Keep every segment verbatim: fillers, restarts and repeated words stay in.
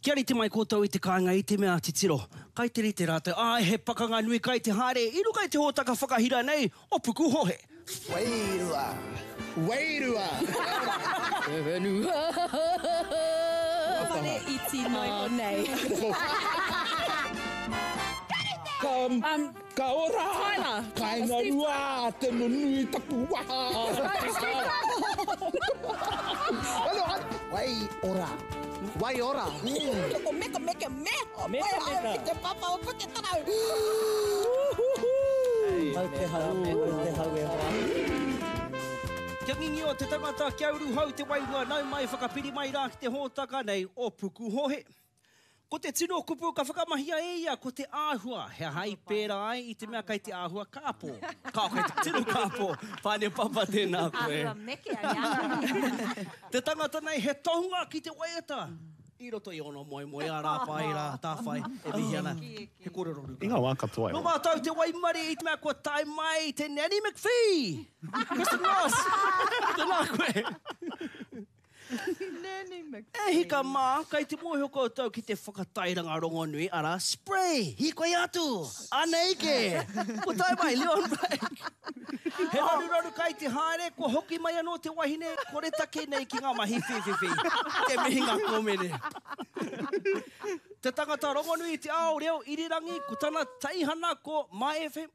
Kia rite mai koutou i te kāinga i te mea titiro. Kai te rite rātou, āe, he pakanga nui kai te haere i runga i te hōtaka whakahira nei o Pukuhohe. Wairua! Wairua! Te whenua! Whare iti noa iho nei. Ka, ka ora! Tyler! Kāinga rua, te nunui taku waha! Wai ora! Wai ora! Ko meka meka me! Meka meka. Ki te papa o Puketarau! Mau te hau, mau te hau e hoa. Kia ngingio te tangata, kia uruhau te wairua, nau mai whakapiri mai rā ki te hōtaka nei o Pukuhohe. Ko te tino kupu ka whakamahia e ia, ko te āhua. He aha i pērā ai i te mea kai te āhua kāpō. Kao kai te tino kāpō. Whāne papa tēnā koe. Āhua meke ai āhua. Te tangata nei he tohunga ki te waiata. I roto i ono moemoe a rāpai rā tāwhai e mihi ana. He kōrero ruka. I ngā wā katoa e Nō mātou te waimarie i te mea kua tae mai te Nanny McPhee! Kristen Ross! Tēnā koe! Nanny McPhee. E hika mā, kai te mōhio koutou ki te whakatairanga rongonui, arā, Spray! Hīkoi atu! Anei ke! Kua tae mai, Leon Blake! He raruraru kai te haere, kua hoki mai anō te wahine koretake nei ki ngā mahi whīwhiwhi. Te mihinga kōmene. Te tangata rongonui i te ao reo irirangi, ko tana teihana ko My F M,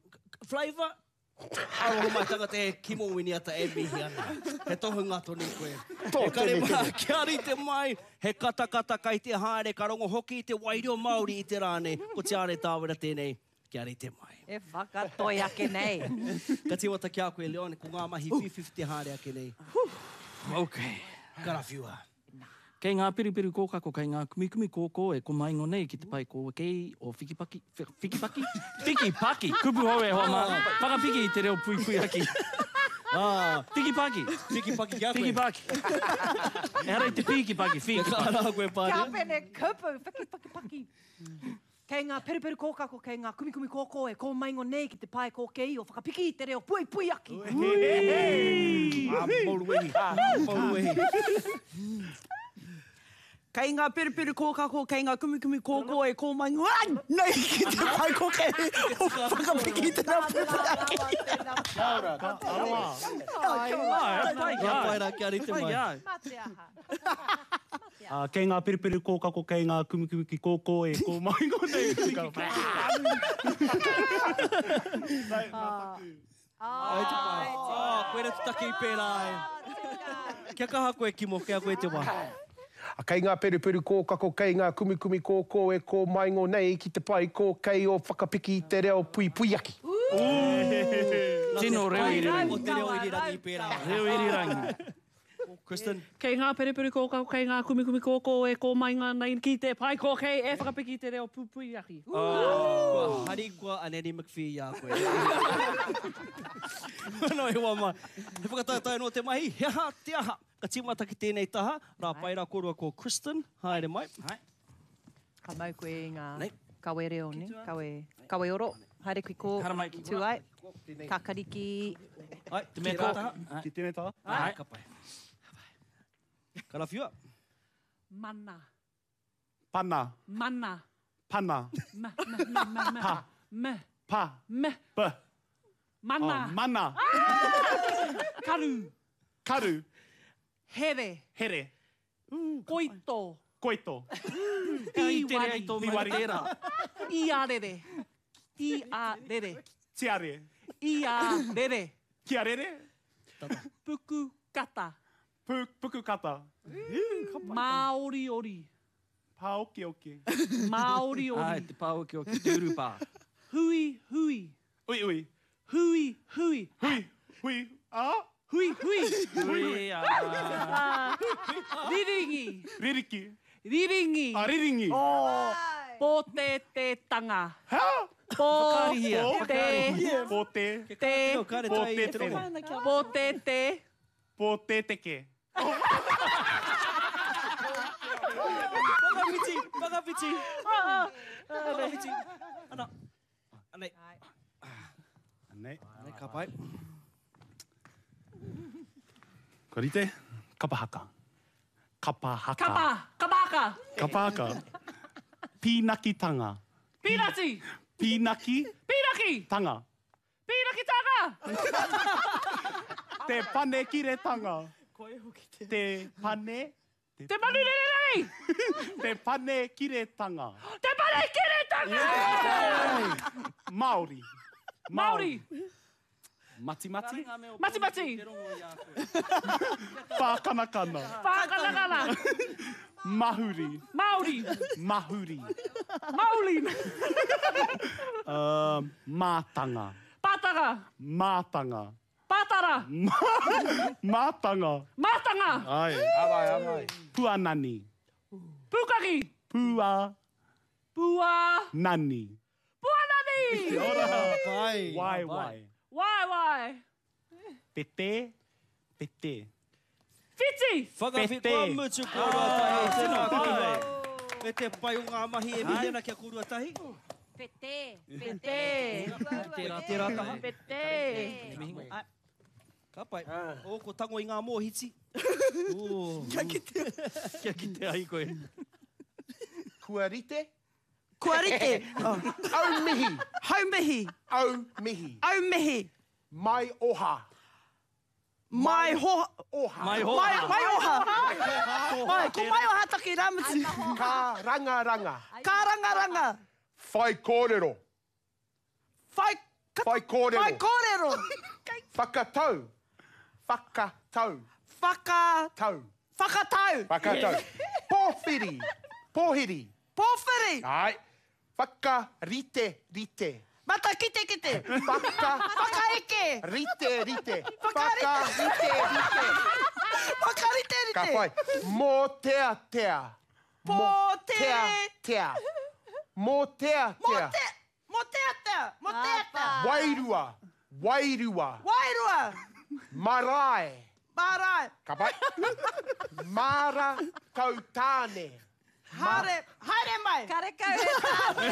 Flavour, Aroha mai tangata e Kimo Winiata e mihi ana. He tohunga tonu koe. Tō E kare tene mā, tene. kia rite mai, he katakata kai te haere, ka rongo hoki i te wairua Māori i te rā nei. Ko Tiare Tāwera tēnei, kia rite mai. E whakatoi ake nei. Ka tīmata ki a koe, Leon, ko ngā mahi whiwhiwhi te haere ake nei. Okay. Karawhiua. Kei ngā peruperu kōkako, kei ngā kumikumi kōkō e komaingo nei ki te pae kōkei o Whikipaki, Whikipaki? Whikipaki! Kupu hou e hoa mā. Whakapiki i te reo puipuiaki. Ah. Whikipaki! Whikipaki ki a koe. Whikipaki. Ehara i te pīkipaki, whikipaki. Kia kaha rā koe, Pānia. Kia pene kupu, whikipaki paki. Kei ngā peruperu kōkako, kei ngā kumikumi kōkō e kōmaingo nei ki te pae kōkei o Whakapiki i te reo puipuiaki. Ah, mauruwehi. Mauruwehi. Kei ngā peruperu kōkako, kei ngā kumikumi kōkō e kōmaingo nei ki te pae kōkei o Whakapiki i te reo puipuiaki. Kia ora, ka aroha. Ai, pai ki a. Pai rā, kia rite mai. Mā te aha. Uh, kei ngā peruperu kōkako, kei ngā kumikumi kōkō e kōmaingo nei. Ai te pai. Ah, koe rā te take i pērā ai. Kia kaha koe, Kimo, kia koe te wā. Kei ngā peruperu kōkako, kei ngā kumikumi kōkō e kōmaingo nei ki te pae kōkei o Whakapiki i te reo puipuiaki. Tino reo irirangi. O te reo irirangi i pērā. Reo irirangi. Kristen. Kei ngā peruperu kōkako, kei ngā kumikumi kōkō e kōmainga nei ki te pae kōkei e Whakapiki i te reo puipuiaki. Kua harikoa a Nanny McPhee i a koe. No, e hoa mai. He whakataetae nō te mahi, he aha te aha. Ka tīmata ki tēnei taha, rā pai rā kōrua ko Kristen, haere mai. Ka mau koe i ngā Nei. kawe reo, ne? Kawe, kawe oro. Haere ki kō, Haramai ki tū ai. Kakariki. Ai, te mea kō. taha. Ki tēnei taha? Ai, ka pai. Karawhiua. Mana. Pana. Mana. Pana. Ma, ma, ma, ma, ma. Pa. Me. Pa. Me. B. Mana. Oh, mana. Karu. Karu. Here. Here. Koito. Koito. Piwari. Piwari. Iarere. Iarere. Tiare. Iarere. Kiarere. Puku kata. Pu, puku kata. Māoriori. Pāokioki. Māoriori. Ai, te pāokioki, te urupā. Hui, hui. Ui, ui. Hui, hui. Hui, hui, a? Hui, hui. Hui, a. Riringi. Ririki. Riringi. A, riringi. Pōtetetanga. Ha? Pō Whakaarihia. te Pōte. te Pōte te. Pōtete. Pōteteke. Whakawhiti, whakawhiti. Whakawhiti. Ana. Anei. Anei. Anei, ka pai. Kua rite? Kapa haka. Kapa haka. Kapa. Kapa Kapa haka. Kapa haka. Pīnakitanga. Pīnati. Pīnaki. Pīnaki. Tanga. Pīnakitanga. Te panekiretanga. Te pane. Te manu rere Te panekiretanga. Te panekiretanga. Māori. Māori. Matimati. Matimati. Whākanakana. Whākanakana. Mahuri. Māori. Mahuri. Maoli. Uh, mātanga. Pātanga. Mātanga. Pātara. Mātanga. Mātanga. Ai. Abai, abai. Puanani. Pūkaki. Pua. Pua. Nani. Puanani. Ora. Wai wai. Wai wai. Pete. Pete. Whiti. Whakawhiti kua mutu kōrua tahi. Tēnā kōrua. Me te pai o ngā mahi e mihi ana kia kōrua tahi. Pete. Pete. Tērā, tērā taha. Pete. Ka pai. O, ko tango i ngā mōhiti. Kia kite. Kia kite ai koe. Kua rite? Kua rite. Au mihi. Hau mihi. Au mihi. Au mihi. Mai oha. Mai ho... Oha. Mai hoha. Mai, mai oha. Mai, ko mai oha taki rāmutu. Ka ranga ranga. Ka ranga ranga. Whai kōrero. Whai... Whai kōrero. Whai kōrero. Whakatau. Whakatau. Whaka... Tau. Whakatau. Whakatau. Pōwhiri. Pōhiri. Pōwhiri. Ai. Whakarite rite. Mata kite kite. Whaka. Whakaeke. Rite rite. Whakarite. Whakarite rite. Whakarite rite. Ka whai. Mōteatea. Pōte. Tea. Mōteatea. Mōte. Mōteatea. Mōteatea. Wairua. Wairua. Wairua. Marae. Marae. Ka pai. Mara kautāne. Haere, haere mai. Karekau he tāne.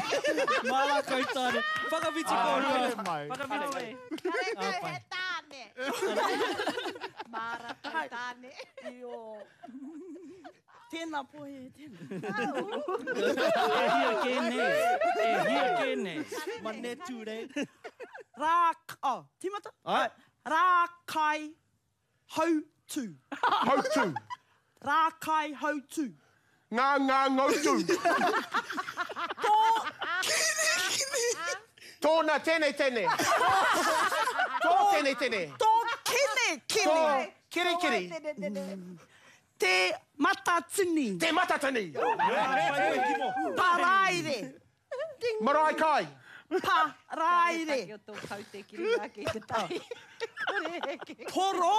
Mara kautāne. Whakawhiti kōrua. Haere mai. Whakawhiti. Karekau he tāne. Mara tautāne. Io. Tēnā pohe, tēnā. E hia kē nei. E hia kē nei. Mane tūrei. Rā, oh, tīmata? Ai. Rākai hautū. Hautū. Rākai hautū. Ngā ngā ngautu. Tō kini kini. Tōna tene tene. Tō tene tene. Tō kene kene. Tō kiri kiri. Te matatini. Te matatini. Paraire. Marae kai. Paraire. Ki o tō kaute ki runga ake i te tai. Poro.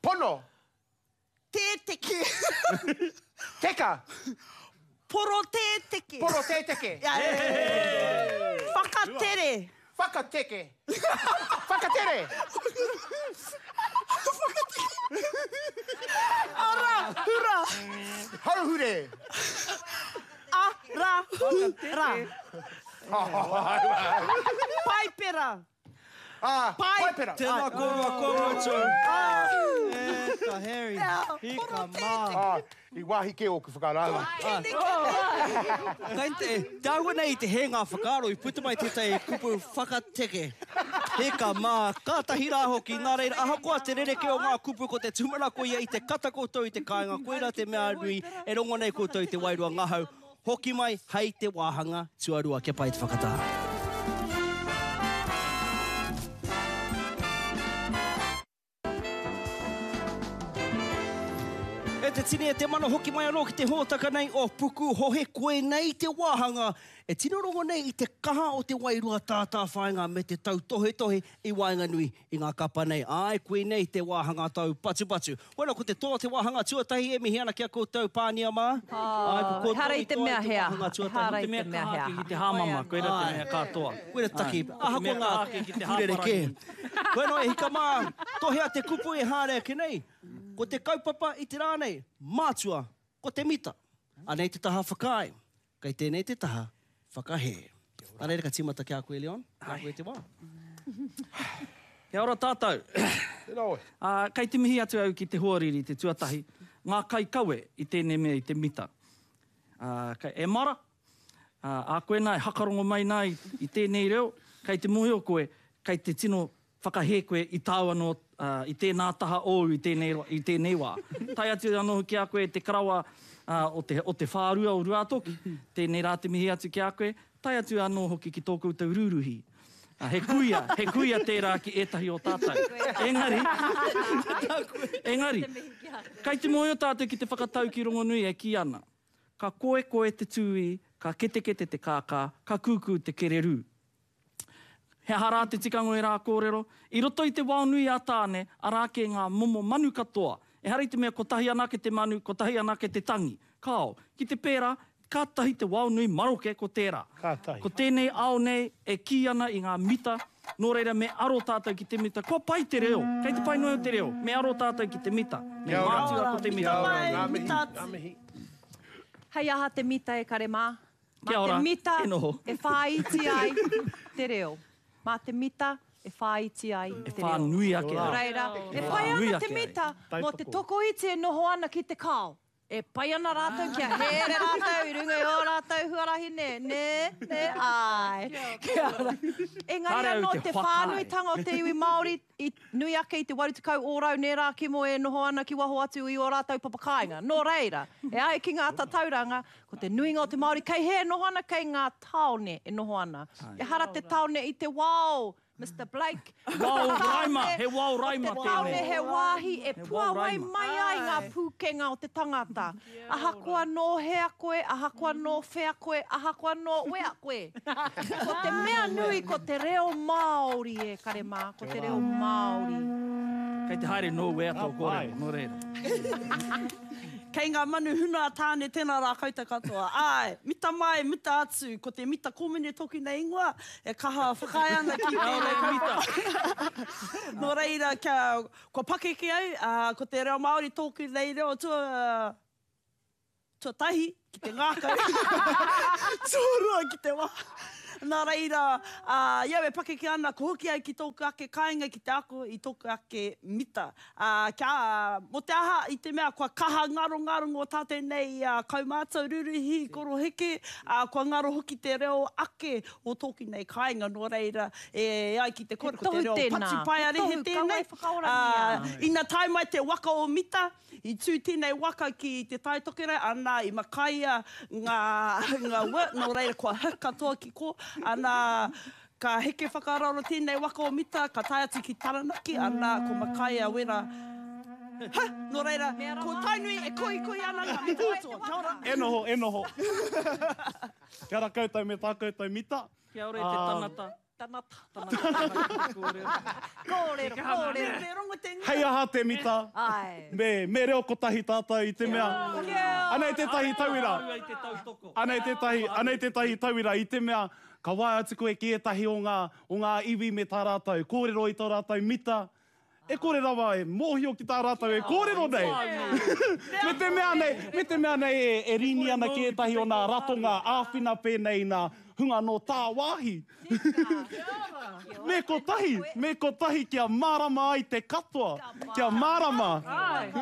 Pono. Tēteke. Teka. Poro tēteke. Poro tēteke. Whakatere. Whakateke. Whakatere. Ara, hura. Hauhure. Ara, hura. Paipera. Ah, Pai- paipera. Tēnā kōrua kua mutu. E ka Harry. Hika mā. Ah, i wāhi ke ōku whakarāua. Kai te, te āhua nei i te hē ngā whakaaro i puta mai tētahi kupu whakateke. Hika mā, kātahi rā hoki, nā reira, ahakoa te rereke o ngā kupu ko te tūmanako ia i te kata koutou i te kāinga, koira te mea nui e rongo nei koutou i te wairua ngahau. Hoki mai, hei te wāhanga tuarua, kia pai te whakatā. E te tini e te mana hoki mai anō ki te hōtaka nei o Puku Hohe koe nei te wāhanga. E tino rongo nei i te kaha o te wairua tātāwhāinga me te tautohetohe i waenganui i ngā kapa nei. Ai, koe nei te wāhanga tau patu patu. Bueno, ko te toa te wāhanga tuatahi e mihi ana ki a koutou Pānia mā. Ai, ko koutou Ehara i te toa mea he aha. wāhanga tuatahi. Ehara Te i mea te mea kaha he ake aha. ki te hāmama, koira te mea katoa. Koe taki, ahakoa ngā Te mea kaha ake ki te kupu rerekē. hāparangi. Koe no e hika mā, tohea te kupu e haere ake nei. Ko te kaupapa i te rā nei, mātua, ko te mita. Anei te taha whakaae, kei tēnei te taha whakahē. Anei ka tīmata ki a koe, Leon. Kia koe te wā. Kia ora tātou. Tēnā oe. Uh, kei te mihi atu au ki te hoariri te tuatahi, ngā kaikawe i tēnei mea i te mita. Uh, kei, e mara, uh, a koe nā, e hakarongo mai nā i, i tēnei reo, kei te mōhio koe, kei te tino whakahē koe i tāu anō, uh, i tēnā taha ōu i tēnei, i tēnei wā. Tae atu anō ki a koe te karawa uh, o, te, o te whārua o Ruatoki, tēnei rā te mihi atu ki a koe, tae atu anō hoki ki tō koutou rūruhi. Uh, he kuia, he kuia tērā ki ētahi o tātou. Engari, engari, kei te mōhio tātou ki te whakatau ki rongonui e ki ana. Ka koe koe te tūi, ka ketekete te kākā, ka kūkū te kererū. He aha rā te tikanga e rā kōrero, i roto i te wao nui a Tāne, arā ke ngā momo manu katoa. Ehara i te mea kotahi anake te manu, kotahi anake te tangi. Kao, ki te pērā, kātahi te wao nui maroke ko tērā. Kātahi. Ko tēnei ao nei e kī ana i ngā mita, nō reira me aro tātou ki te mita. Kua pai te reo, kei te pai noa te reo, me aro tātou ki te mita. Me Kia ora. mātua ko te mita. Kia ora, ngā mihi, ngā mihi. Hei aha te mita e kare mā. Mā Kia ora, te mita e noho. e whāiti ai te reo. Mā te mita e whāiti ai E te reo. whānui ake Nō ai. reira, e E pai whānui ana te ake ai. mita mō te tokoiti e noho ana ki te kao. E pai ana rātou kia here rātou i runga i ō rātou huarahi nē, nē, nē, ai. Kia ora. Engari Kāre au anō te te whakaae. whānuitanga o te iwi Māori i nui ake i te waru tekau ōrau nē rā kimo e noho ana ki waho atu i ō rātou papakāinga. Nō reira, e ai ki ngā tatauranga, ko te nuinga o te Māori kei he e noho ana, kei ngā taone e noho ana. Ehara te taone i te wao, Mister Blake. Wao raima, he wao raima Te taone tēnei. he wāhi e He wao puawai raima. mai ai ngā pūkenga o te tangata. Ahakoa nō hea koe, ahakoa nō whea koe, ahakoa nō wea koe. Ko te mea nui, ko te reo Māori e kare mā, ko te reo Māori. Kei te haere nō wea tō kōrero, nō reira. Kei ngā manu huna a Tāne tēnā rā koutou katoa. Ai, mita mai, mita atu, ko te mita kōmene toki nei ingoa, e kaha whakaae ana ki tēnei kaupapa. Nō reira, kia, kua pakeke au, uh, ko te reo Māori tōku nei reo tua, tuatahi ki te ngākau, tuarua ki te waha. Nā reira, uh, iau e pakeke ana, ko hoki au ki tōku ake kāinga ki te ako i tōku ake mita. Uh, kia, uh, mo te aha i te mea kua kaha ngaro ngaro ngō tātou nei uh, kaumātua ruruhi koroheke, uh, kua ngaro hoki te reo ake o tōku nei kāinga. Nō reira, e ai ki te kore, ko te reo tohu tēnā. patupaiarehe He tohu, tēnei. kauae whakaorangia. Uh, ina tae mai te waka o mita, i tū tēnei waka ki te Tai Tokerau, ana i makaia ngā, ngā wa, nō reira kua huk katoa ki ko, ana ka heke whakararo tēnei waka o mita, ka tae atu ki Taranaki, ana ko makaia wera. Ha, nō reira, ko Tainui e koikoi ana ngā mita katoa. Kia ora. E noho, e noho. Kia ora koutou me tā koutou mita. Kia ora e te Um, tangata. Tanata. Tanata. Kōrero. Kōrero, kōrero. Hei aha te mita. Ai. Me, me reo kotahi tātou i te mea. Anei tētahi tauira. Rua i te tautoko. Anei tētahi, anei tētahi tauira i te mea, ka waea atu koe ki ētahi o ngā, o ngā iwi me tā rātou, kōrero i tā rātou mita, e kore rawa e mōhio ki tā rātou e kōrero nei. Me te mea nei, me te mea nei e, e rini ana ki ētahi o nā ratonga āwhina pēnei nā hunga nō tāwāhi. Me kotahi, me kotahi kia mārama ai te katoa. Kia mārama.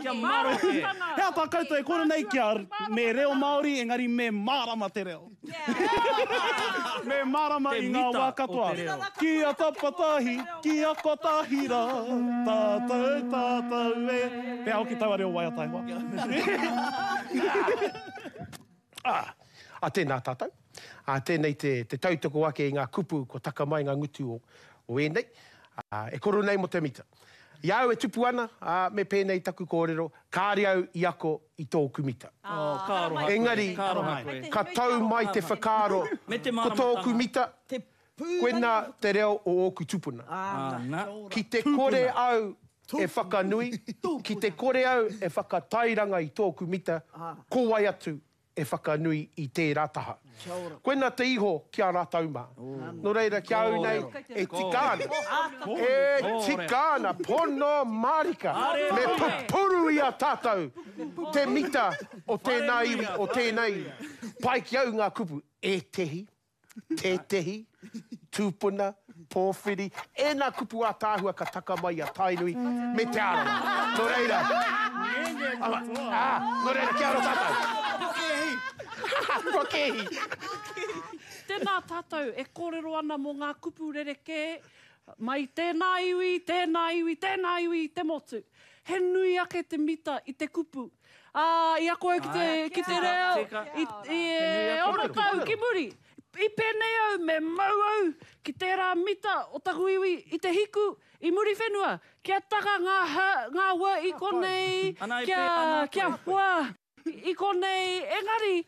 Kia maroke. He aha tā koutou e kore nei kia me reo Māori, engari me mārama te reo. Me mārama Te i ngā mita wā o katoa. te reo. Kia tapatahi, kia kotahi rā, tātou, tātou e. Pea hoki taua reo waiata e hoa. Ah, a tēnā tātou. A tēnei te, te tautoko ake i ngā kupu kua taka mai ngā ngutu o, o ēnei. Ah, e koro nei mo te mita. I au e tupu ana, ah, me pēnei taku kōrero, kāre au i ako i tōku mita. Oh, ka aroha koe. Engari, Ka aroha koe. ka tau mai te whakaaro, Me te ko tōku māramatanga. mita, Te koena te reo o ōku tupuna. Ana. Ki te kore au e whakanui, ki te kore au e whakatairanga i tōku mita, ko wai atu e whakanui i tērā taha. Koena te iho ki a rātou mā. Nō reira, ki au nei, e tika ana. E tika ana, pono marika. Me pupuru i a tātou te mita o tēnā iwi, o tēnā iwi. Pai ki au ngā kupu, e tehi, tētehi, tūpuna, pōwhiri, e nā kupu ātaahua ka taka mai a Tainui me Te Arawa. Nō reira, ah, nō reira, kia ora tātou. Kēhi. Tēnā tātou e kōrero ana mō ngā kupu rerekē mai tēnā iwi, tēnā iwi, tēnā iwi i te motu. He nui ake te mita i te kupu. Ā, i ako au ki te, ki te reo, i, i e ono tau ki muri. I pēnei au me mau au ki tērā mita o taku iwi i te hiku, i Muriwhenua, kia taka ngā ha, ngā wa i konei, kia, kia hua i konei, engari,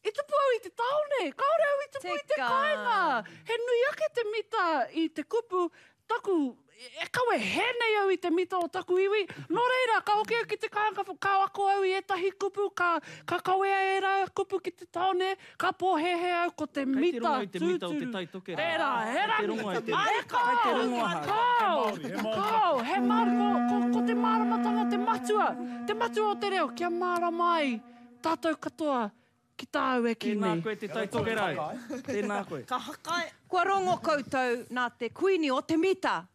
i tupu au i te tāone, kāore au i tupu i te kāinga. He nui ake te mita i te kupu, taku, e kawe hē nei au i te mita o taku iwi, nō reira, ka hoki au ki te kāinga, ka ako au i ētahi kupu, ka, ka kawea ērā kupu ki te tāone, ka pōhēhē au ko te Kei te mita rongo i te mita o te tūturu. Tai Tokerau. Tērā, he Kei te rangi. rongo i te Ai, Kei te rongo kao, ahau. kao, kao, he māri, ko, ko, ko te māramatanga te matua, te matua o te reo, kia mārama ai tātou katoa ki tāu e kī Tēnā nei. koe te Tai Tokerau. Tēnā koe. Ka hakae. Kua rongo koutou nā te kuini o te mita.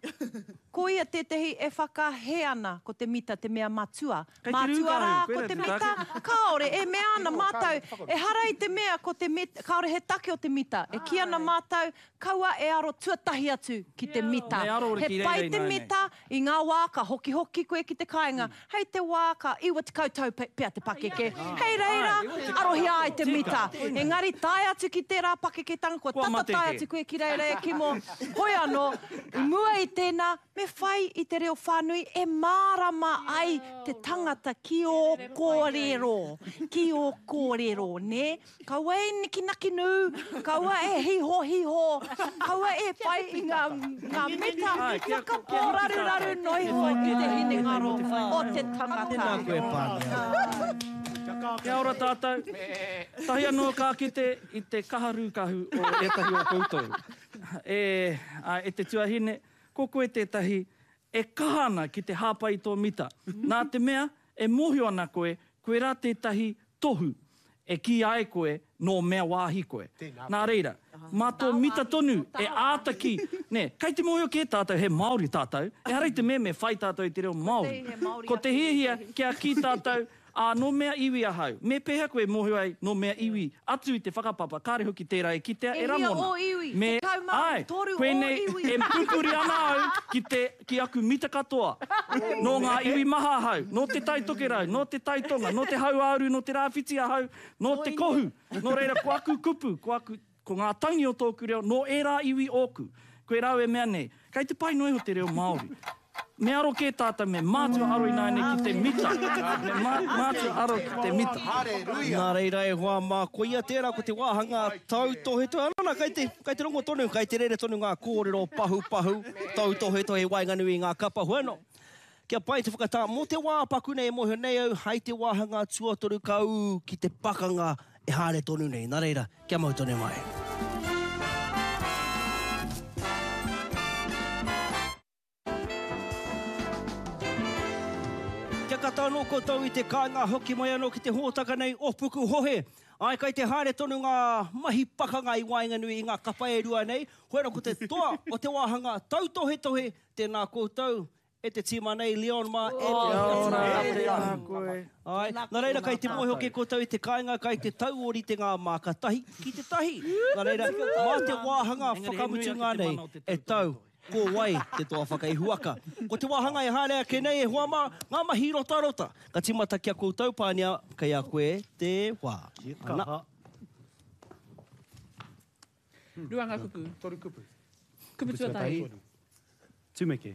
Ko ia tētehi e whakahē ana ko te mita te mea matua. Kei te Matua rūkahu, rā koe ko rā te te mita, take. kāore e mea ana mātou, ehara i te mea ko te mita, kāore he take o te mita. E kī ana mātou, kaua e aro tuatahi atu ki te mita. Me aro He ki reira pai te ināianei. mita i ngā wā ka hokihoki koe ki te kāinga. Hei te wā ka iwa tekau tau pea te pakeke. Hei reira, arohia ai te mita. Engari tae atu ki tērā pakeketanga, kua Kua tata mate tae kē. atu koe ki reira e Kimo. Hoi anō, i mua i tēnā, me whai i te reo whānui e mārama ai te tangata ki ō kōrero. Ki ō kōrero, nē? Kaua e nikinaki nū, kaua e hiho hiho, kaua e whai i ngā, ngā mita, Ai, kia- whakapōraruraru noiho i te hinengaro o te tangata. Tēnā koe, Pānia. Kia ora tātou. Tahi anō ka kite i te kaha rūkahu o ētahi o koutou. E, a, e te tuahine, ko koe tētahi e kaha ana ki te hāpai i tō mita. Nā te mea, e mōhio ana koe, koe rā tētahi tohu e kī ai koe nō mea wāhi koe. Nā reira, mā tō mita tonu e āta ki, nē, kei te mōhio kē tātou, he Māori tātou, ehara i te mea me whai tātou i te reo Māori. Ko te hiahia kia kī tātou, ā, nō mea iwi ahau. Me pēhea koe mōhio ai nō mea iwi atu i te whakapapa, kāre hoki tērā e kitea E e hia rangona. ō iwi, Me, tekau mā ai, toru ō koinei iwi. e pupuri ana au ki, te, ki aku mita katoa. Nō ngā iwi maha ahau, nō te Tai Tokerau, nō te Tai Tonga, nō te Hauāuru, nō te Rāwhiti ahau, nō te Kohu. Nō reira, ko aku kupu, ko, aku, ko ngā tangi o tōku reo, nō ērā iwi ōku. Koe rau e mea nei, kei te pai noa iho te reo Māori. Me aro kē tātou, me mātua aro ināianei ki te mita. Me mā, mātua aro ki te mita. Nā reira e hoa mā, koia tērā ko te wāhanga tautohetohe. Anō nā, kei te, kei te rongo tonu, kei te rere tonu ngā kōrero pahu pahu, tautohetohe waenganui i ngā kapa. Hoi anō, kia pai te whakatā, mō te wā paku nei e mōhio nei au, hai te wāhanga tuatoru ka ū ki te pakanga e haere tonu nei. Nā reira, kia mau tonu mai. Kia kata anō koutou i te kāinga hoki mai anō ki te hōtaka nei o Pukuhohe. Ai, kai te haere tonu ngā mahi pakanga i waenganui i ngā kapa e rua nei. Hoi anō ko te toa o te wāhanga tautohetohe, tēnā koutou e te tīma nei, Leon mā, e te Kia ora, atu. tēnā koe. Ai, nā reira, kai te mōhio ke koutou i te kāinga, kai te tauori te ngā māka tahi ki te tahi. Nā reira, mā te wāhanga Engari he nui ake whakamutunga te nei mana o te e tau. Ko wai te toa whakaihuwaka. Ko te wāhanga e haere ake nei e hoa mā, ngā mahi rotarota. Ka tīmata kia koutou Pānia, kei a koe te wā. Ana. Rua ngā kupu. Toru kupu. Kupu tuatahi. Tumeke.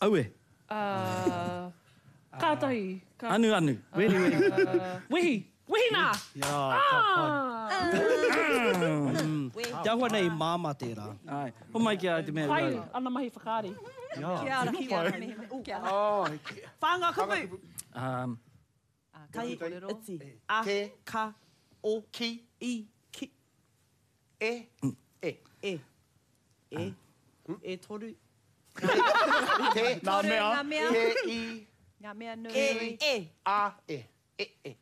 Aue. Uh, kātahi. Ka... Anu, anu. Weri, weri. Uh, wehi. Wehi nā! Jā, ka pai. Te ahua nei māmā tērā. Ai, ho mai ki a te mea Pai rau. ana mahi whakaari. Jā, Kia ora, kia ora, mihi, kia ora. Oh, Whānga kupu. Um, Kai, iti, a, Te. ka, o, Ki. i, ki, E. E. e, e, e toru. Te. Nā Toru mea. ngā mea, Te i. ngā mea nui. E, e. A. E. E. E.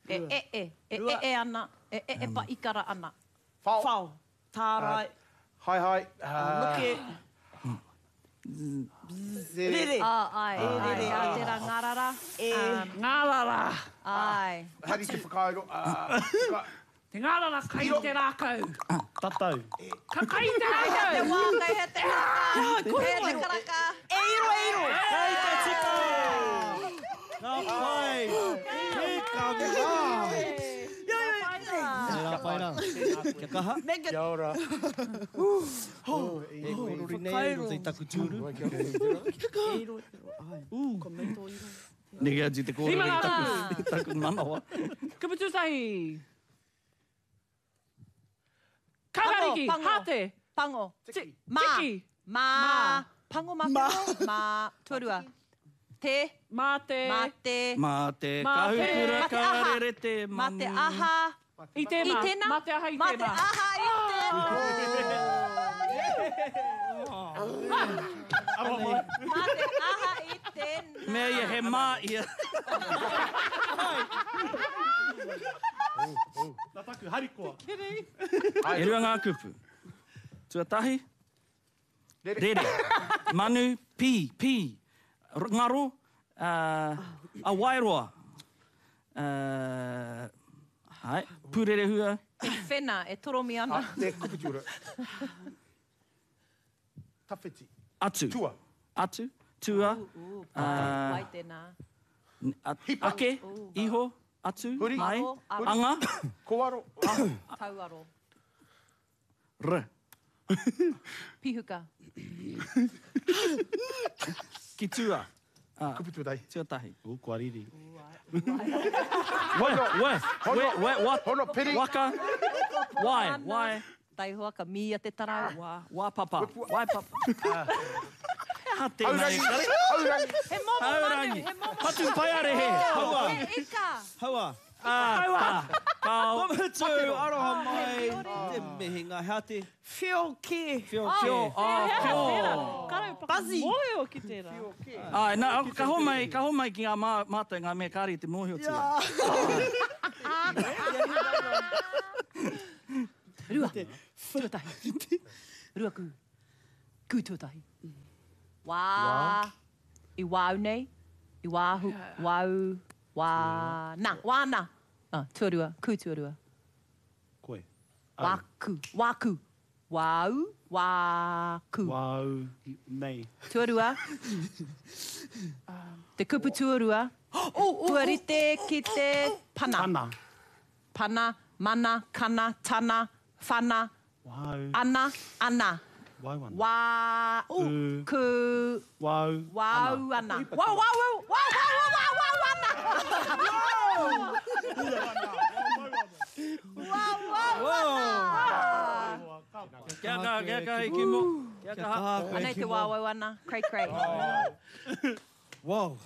E, e, e, e, e, e ana, e, e, e, pa ikara ana. Whao. Whao. Tārai. Hai hai. Noke. Rere. Rere. Ah, ai, E, ai, rere, ai, e. tērā ngārara. E. Ngārara. Ai. Hari te whakairo. Ah, whaka- Te ngārara kai te rākau. Tatau. Ka kai te rākau. Te wā, kei he te karaka. Kei he te karaka. E iro, e iro. Kei te tika. Ka pai. Hika mā. Tērā pai rā. Kia kaha. Megan. Kia ora. E korori nei au roto i taku tūru. E iro, e iro. Ai. Ko me tō iro. Neke atu te kōrero Rima i ngā taku, taku manawa. Kupu tūtahi. Kakariki, Pango, pango. hāte. Pango. Ti- Mā. Tiki. Mā. Pango mā pango. Mā. Tuarua. Te. Mā te. Mā te. Mā te Mā te- kahukura Mā te aha. karere te Mā te manu. aha. I tēnā. I tēnā. Mā te aha i Mā te tēnā. aha i tēnā. Aroha mai. Mā te aha i tēnā. Mea ia he mā ia. Nā taku harikoa. E rua ngā kupu. Tuatahi. Rere. Manu, pī, pī. R- Ngaro, uh, a wairoa. Uh, hai, pūrerehua. Te whena e toromi ana. Ah, te kupu tūra. Tawhiti. Atu. Tua. Atu, tua, Uh, Wai tēnā. a, ake, iho, atu, Huri. mai, Aro, aro. anga, Koaro. Tauaro. r. Pihuka. Ki tua. Ah, Kupu tuatahi. tuatahi. U, kua riri. We, we, we, we, wa, Hono piri. waka, wai, wai, Taihoa ka mia te tarau. wa, wa papa, wai papa. Ha tēnei. Haurangi. Haurangi. He momo manu, Haurangi. he momo Patu paiarehe. Haua. He ika. Haua. Ah, ta, kao. Mutu, aroha mai. Te mihinga hea te. Whio ke. Whio Whio, ke. ah, Tērā. whio. Karau paka Buzzy. mōhio ki tērā. Ai, nā, ka homai, ka homai ki ngā mā, mātou, ngā mea kāri te mōhiotia. Rua. Tuatahi. Rua kū. Kū tuatahi. Wā. I wāu nei. I wāhu. Wāu. Wā. Nā. Wāna. Ah, tuarua. Kū tuarua. Koe. Wāku. Wāku. Wāu. Wāku. Wau. Nei. Tuarua. Te kupu tuarua. Kua rite ki te pana. Ana. Pana, mana, kana, tana, whana, Wau. ana, ana. Wau ana. Wā, U. ku, Wau. wau ana. Wau, wau, wau, wau, wau, wau, wau ana. Wau, wau, ana. Kia kaha, kia kaha, i kimo. Kia kaha. Anei te wau wau ana. Crei, crei. Wow.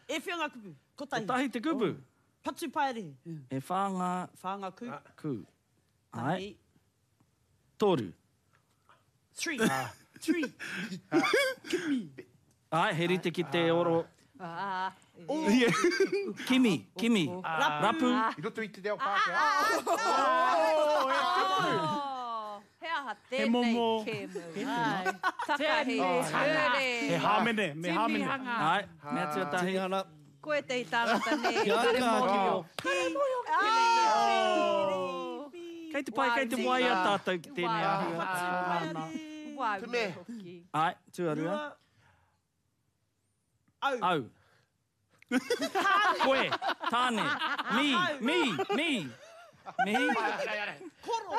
E whio ngā kupu. Kotahi. Kotahi te kupu. Patu paere. E whā ngā Whā ngā ku. kū. Ai, toru. Three. Three. Ai, he rite ki te oro. Ah, Kimi, kimi. Rapu. I roto i te reo Pākehā. Oh, he aha tēnei momo- kēmu. Ai, Takahi, He hure. hāmene, me hāmene. Tinihanga. Ai, mea tuatahi. Tinihana. Koe te tāngata nei. Kia Kare kaha, mōhio. Kei te pai, kei te waia tātou ki tēnei āhua. Wau Te me. hoki. Ai, tuarua. Au. Au. Koe, tāne, mi, mi, mi. Mi. Koro.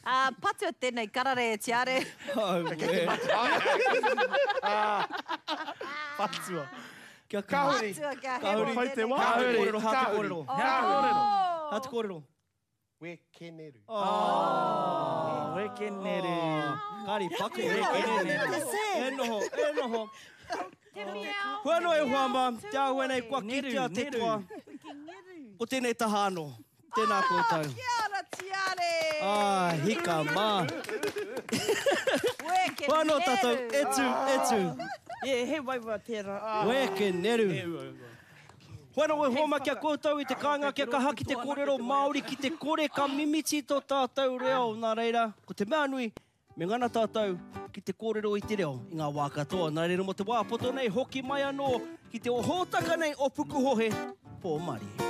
Ah, patua tēnei karare e tiare. Au, e. Patua. Kia kaha. Kahuri. Patua kia Kahuri. hemo Pai te tēnei. wā. Hā te kōrero, hā te Kahuri. kōrero. Hea te kōrero. Hā te kōrero. Wekeneru. Oh, wekenere. Kāri paku. Wekenere. E noho, e noho. Te miau. Hua no e hoa mā, te au nei kua Neru, kitea te neru. toa. Ko tēnei taha anō. Tēnā koutou. Kia ora tiare. Ah, hika mā. Weke Hua anō tātou, e tū, e tū. Yeah, he waiwa tērā. Weke neru. Hua anō e hoa mā kia koutou i te kāinga kia kaha ki te kōrero Māori ki te kore ka mimiti tō tātou reo. Nā reira, ko te mea nui, me ngana tātou ki te kōrero i te reo i ngā wā katoa. Nā reira mo te wā poto nei, hoki mai anō ki te o hōtaka nei o Pukuhohe, Pō Marie.